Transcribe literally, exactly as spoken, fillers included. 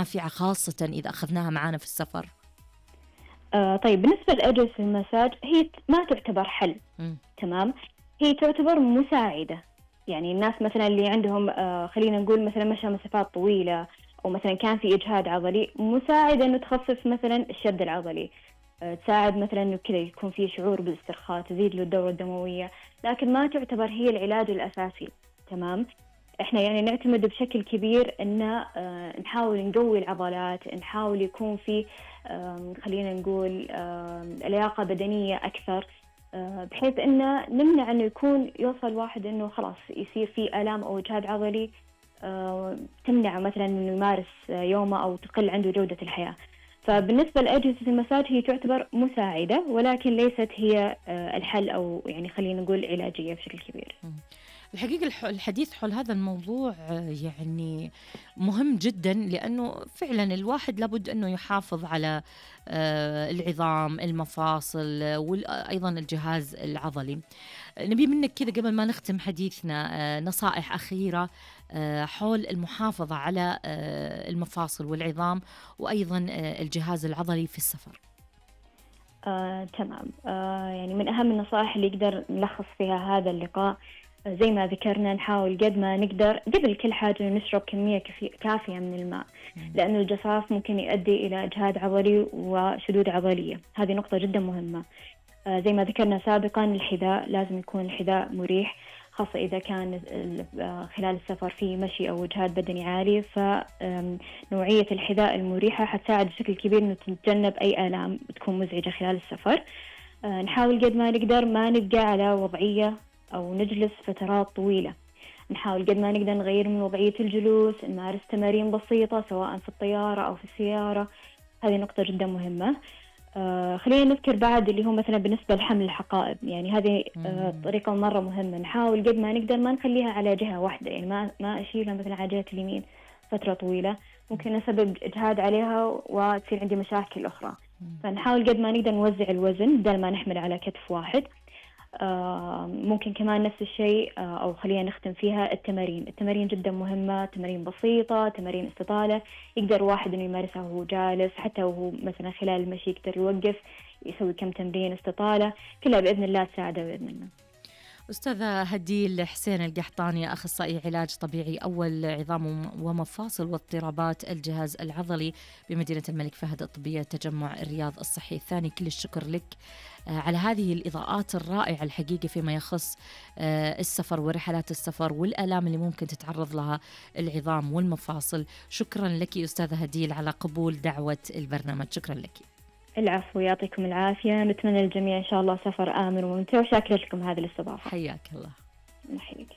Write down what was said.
نافعة خاصة إذا أخذناها معانا في السفر؟ آه طيب، بالنسبة لأجهزة المساج هي ما تعتبر حل. م. تمام، هي تعتبر مساعدة. يعني الناس مثلا اللي عندهم آه خلينا نقول مثلا مشى مسافات طويلة، أو مثلا كان في إجهاد عضلي، مساعدة إنه تخفف مثلا الشد العضلي، آه تساعد مثلا إنه كذا يكون في شعور بالاسترخاء، تزيد له الدورة الدموية، لكن ما تعتبر هي العلاج الأساسي. تمام، إحنا يعني نعتمد بشكل كبير إن آه نحاول نقوي العضلات، نحاول يكون في آه خلينا نقول آه لياقة بدنية أكثر، بحيث إنه نمنع إنه يكون يوصل واحد إنه خلاص يصير فيه آلام أو إجهاد عضلي تمنع مثلا إنه يمارس يومه أو تقل عنده جودة الحياة. فبالنسبة لأجهزة المساج هي تعتبر مساعدة، ولكن ليست هي الحل، أو يعني خلينا نقول علاجية بشكل كبير. الحقيقة الحديث حول هذا الموضوع يعني مهم جدا، لأنه فعلا الواحد لابد أنه يحافظ على العظام، المفاصل، وأيضا الجهاز العضلي. نبي منك كذا قبل ما نختم حديثنا نصائح أخيرة حول المحافظة على المفاصل والعظام وأيضا الجهاز العضلي في السفر. آه، تمام. آه، يعني من أهم النصائح اللي يقدر نلخص فيها هذا اللقاء، زي ما ذكرنا نحاول قد ما نقدر قبل كل حاجة نشرب كمية كافية من الماء، لأنه الجفاف ممكن يؤدي إلى إجهاد عضلي وشدود عضلية. هذه نقطة جدا مهمة. آه زي ما ذكرنا سابقا، الحذاء لازم يكون الحذاء مريح، خاصة إذا كان خلال السفر في مشي أو إجهاد بدني عالي، فنوعية الحذاء المريحة حتساعد بشكل كبير إنه تتجنب أي آلام تكون مزعجة خلال السفر. آه نحاول قد ما نقدر ما نبقى على وضعية أو نجلس فترات طويلة، نحاول قد ما نقدر نغير من وضعية الجلوس، نمارس تمارين بسيطة سواء في الطيارة أو في السيارة. هذه نقطة جدا مهمة. آه خلينا نذكر بعد اللي هو مثلا بالنسبة لحمل الحقائب، يعني هذه آه طريقة مرة مهمة. نحاول قد ما نقدر ما نخليها على جهة واحدة، يعني ما ما أشيلها مثلا على جهة اليمين فترة طويلة، ممكن نسبب إجهاد عليها وتصير عندي مشاكل أخرى. فنحاول قد ما نقدر نوزع الوزن بدل ما نحمل على كتف واحد. آه ممكن كمان نفس الشيء، آه أو خلينا نختم فيها التمارين. التمارين جدا مهمة، تمارين بسيطة، تمارين استطالة يقدر واحد إنه يمارسها وهو جالس، حتى وهو مثلا خلال المشي يقدر يوقف يسوي كم تمرين استطالة، كلها بإذن الله تساعده بإذن الله. أستاذة هديل حسين القحطاني، أخصائي علاج طبيعي أول عظام ومفاصل واضطرابات الجهاز العضلي بمدينة الملك فهد الطبية تجمع الرياض الصحي الثاني، كل الشكر لك على هذه الإضاءات الرائعة الحقيقة فيما يخص السفر ورحلات السفر والآلام اللي ممكن تتعرض لها العظام والمفاصل. شكرا لك أستاذة هديل على قبول دعوة البرنامج. شكرا لك. العفو، يعطيكم العافية. نتمنى للجميع إن شاء الله سفر آمن وممتع، وشاكرة لكم هذه الاستضافة. حياك الله. حياك.